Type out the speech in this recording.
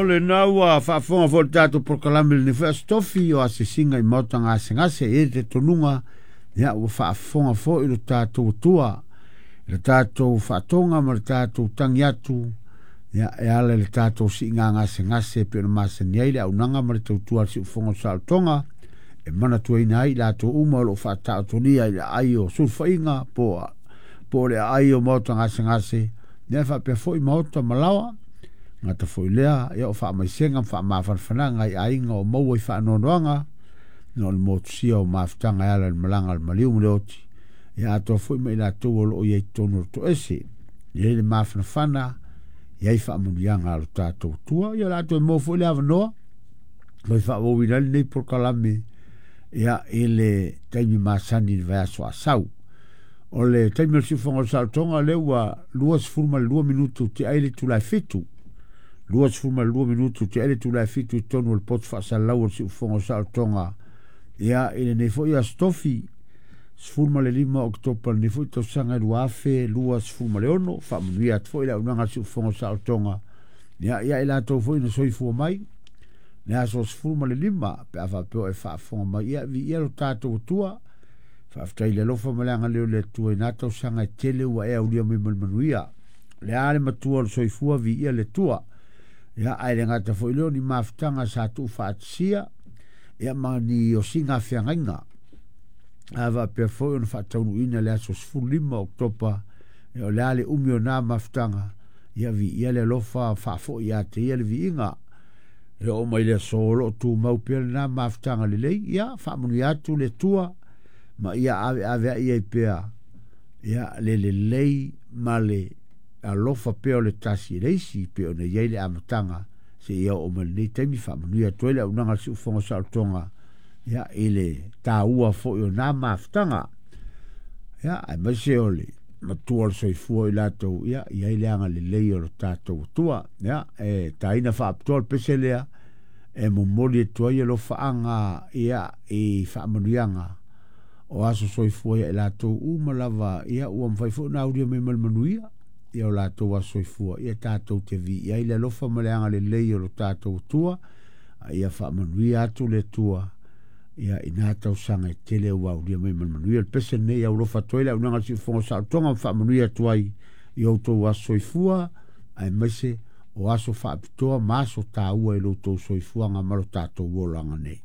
O lena ua faafofoga foi i le tatou polokalame i lenei foi Aso Tofi o asiasiga i maota gasegase. E i ai le talitonuga, ia, ua faafofoga foi lo tatou Atua i le tatou faatoga ma le tatou tagi atu, ia, e ala i le tatou siiga gasegase e pei ona masani ai le auaunaga ma le tautua a le Siufofoga o le Saolotoga e manatuaina ai i latou uma o lo o faataotolia i le aai o sulufaiga po o le aai o maota gasegase, ia, e faapea foi maota ma laoa. Gata foi lea, ia, o faamaisega ma faamafanafanaga i aiga o maua i faanoanoaga ona o le motusia o mafutaga e ala i le malaga a le maliu ma le oti, ia atoa foi ma i latou o lo o i ai i totonu o le toese. E i ai le mafanafana, e i ai faamanuiaga a lo tatou Atua. Ia o le a toe maua foi le avanoa toe faaauauina ai lenei polokalame, ia, i le taimi masani i le vaiaso a sau. O le taimi o le siufofoga o le saolotoga lea ua 22 minutu tea ai le itula e 7. 22 minutu tea ai le itula e 7 i totonu o le poto faasalalau o le siufofoga o le saolotoga, ia, i lenei foi Aso Tofi 15 Oketopa lenei foi tausaga 2026. Faamanuia atu foi le auaunaga a le siufofoga o le saolotoga, ia, ia i latou foi na soifua mai le aso 15 pe a faapea o e faafofoga mai, ia, viia lo tatou Atua. Faafetai i le alofa ma le agalelei o le Atua i na tausaga e tele ua e aulia mai ma le manuia. O le a le matua o le soifua, viia le Atua. Ia, ae le gata foi lea o ni mafutaga sa tuufaatasia, ia, ma ni osiga feagaiga. A faapea foi ona faataunuuina le aso 15 Oketopa, ia, o le a le umi o na mafutaga, ia, viia le alofa faafoi ia te ia le viiga. E oo mai le aso o lo o tumau pea lena mafutaga lelei, ia, faamanuia atu le Atua ma ia aveaveai ai pea, ia, le lelei ma le alofa pea o le tasi i le isi pei ona i ai le amataga seia oo mai lenei taimi. Faamanuia atu ai le auaunaga a le Siufofoga o Saolotoga, ia, i le taua foi o na mafutaga, ia, aemaise o le matua o le soifua o i latou, ia, i ai le agalelei o lo tatou Atua. Ia, e taina faapitoa le pese lea e momoli atu ai alofaaga, ia, i faamanuiaga o aso soifua ia i latou uma lava, ia, ua mafai foi ona aulia mai ma le manuia, ia, o latou aso soifua, ia, tatou te viia ai le alofa ma le agalelei o lo tatou Atua, a ia faamanuia atu le Atua, ia, i na tausaga e tele ua aulia mai ma le manuia. Le pese lenei aulofa atu ai le auaunaga a le Siufofoga o Saolotoga ma faamanuia atu ai i outou aso soifua, aemaise o aso faapitoa ma aso taua i lo outou soifuaga ma lo tatou olaga nei.